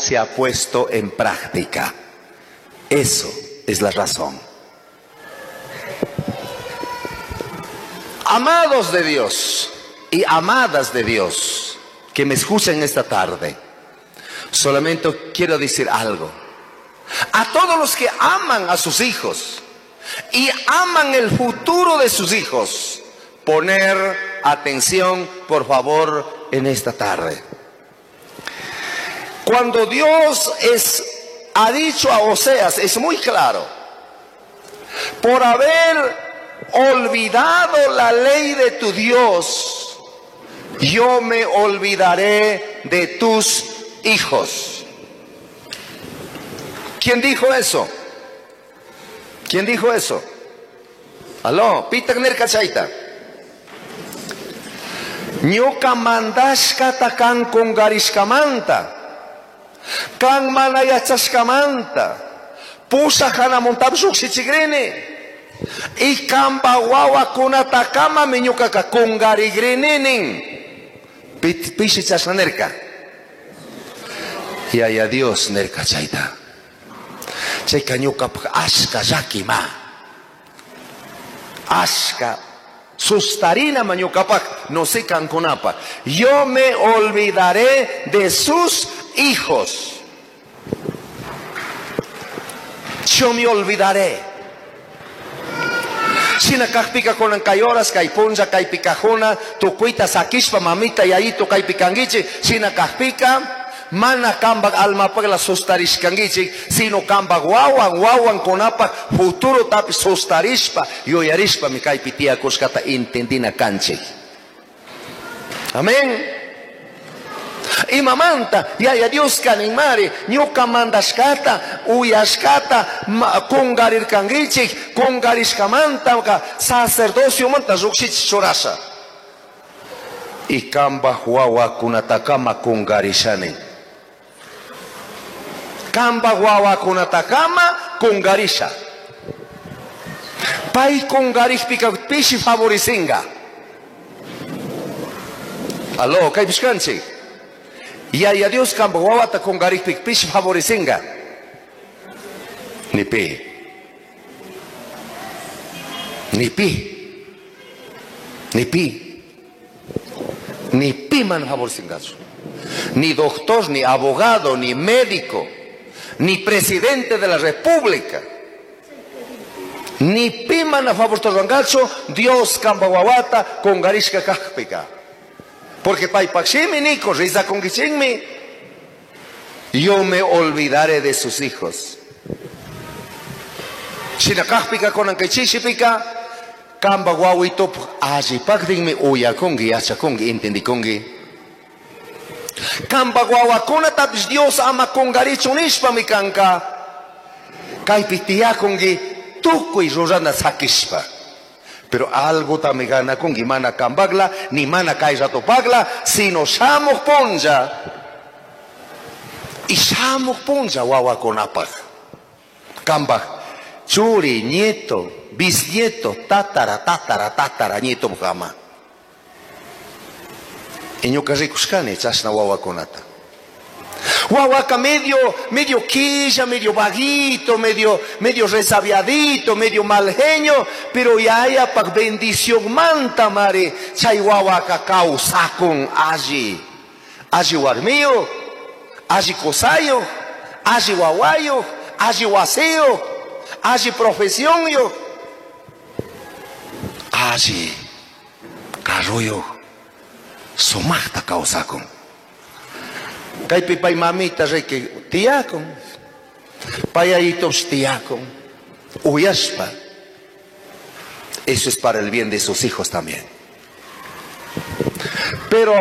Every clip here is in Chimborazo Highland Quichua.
se ha puesto en práctica. Eso es la razón. Amados de Dios y amadas de Dios que me escuchan esta tarde, solamente quiero decir algo. A todos los que aman a sus hijos y aman el futuro de sus hijos, poner atención, por favor, en esta tarde. Cuando Dios ha dicho a Oseas, es muy claro, por haber olvidado la ley de tu Dios, yo me olvidaré de tus hijos. ¿Quién dijo eso? ¿Quién dijo eso? Aló, pitak nirka chayta. Ñuka mandashkata kan kungarishkamanta, kan mana yachashkamanta, pusaj hanamuntapish llukshichikrini. Y kanpa wawakunatakama ñukaka kungarigrini nin. Pishi chashna nirka. Yaya Dios nirka chayta. Chayka ñukapak ashka llakima. Ashka sustarina ma ñukapak, no sé kankunapa. Yo me olvidaré de sus hijos. Yo me olvidaré. Shina kakpika kunan kay horas, kay punlla, kay pikajuna, tukuyta sakishpa mamita yayito kay pikanguichi. Shina kakpika, mana kambak almapakla sustarishkanguichi, sino kambak wawan, wawan kunapak futuro tapi sustarishpa, yuyarishpa mi kaypi tiyakushkata intendina kanchik. Amén. Imamanta, yaya Dios kaninmari, ñuka mandashkata, uyashkata, kungarirkanguichik, kungarishkamanta, sacerdocio manta llukshichik churasha. Y kambaj wawakunatakama kungarishani. Kambaj wawakunatakama kungarisha. Pay kungarishpika pishi favorisinga. Aló, kaypishkanchik. Yaya Dios kambaj wawata kungarishpika pishi favorisinga. Ni pi. Ni pi. Ni pi. Ni pi man favorisingachu. Ni doctor, ni abogado, ni médico, ni presidente de la república. Ni pi mana favorisingachu Dios kambaj wawata kungarishka kakpika. Porque paypakshimi niko, rizakunkichinmi. Yo me olvidaré de sus hijos. Shina kakpika kunankaychishipika, kambaj wawitup allipaktinmi uyakunki, yachakunki, entendikunki. Kambaj wawakunatapish Dios ama kunkarichun nishpami kanka. Kaypi tiyakunki tukuy rurana sakishpa. Pero algo tami ganakunki mana kambakla, ni mana kay ratopakla, sino shamuj punlla. Y shamuj punlla wawakunapaj. Kambaj churi, nieto, bisnieto, tatara, tatara, tatara, nieto kama. Y ñuka rikushkani chashna wawakunata. Wawaka medio quilla, medio vaguito, medio resabiadito, medio mal genio, pero yaya pak bendición manta mare, chay wawaka kawsakun alli. Alli warmiyo, alli kosayo, alli wawayo, alli waseo, alli profesión yo, alli carroyo, sumaqta kawsakun. Kaypi pay mamita riki tiyakun, payayitosh tiyakun, uyashpa. Eso es para el bien de sus hijos también. Pero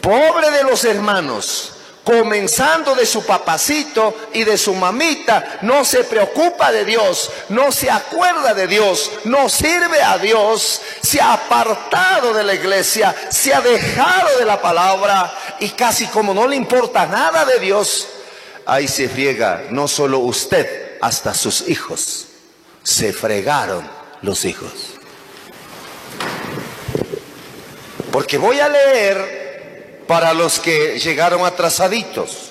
pobre de los hermanos, comenzando de su papacito y de su mamita, no se preocupa de Dios, no se acuerda de Dios, no sirve a Dios, se ha apartado de la iglesia, se ha dejado de la palabra y casi como no le importa nada de Dios, ahí se friega no solo usted, hasta sus hijos. Se fregaron los hijos. Porque voy a leer para los que llegaron atrasaditos.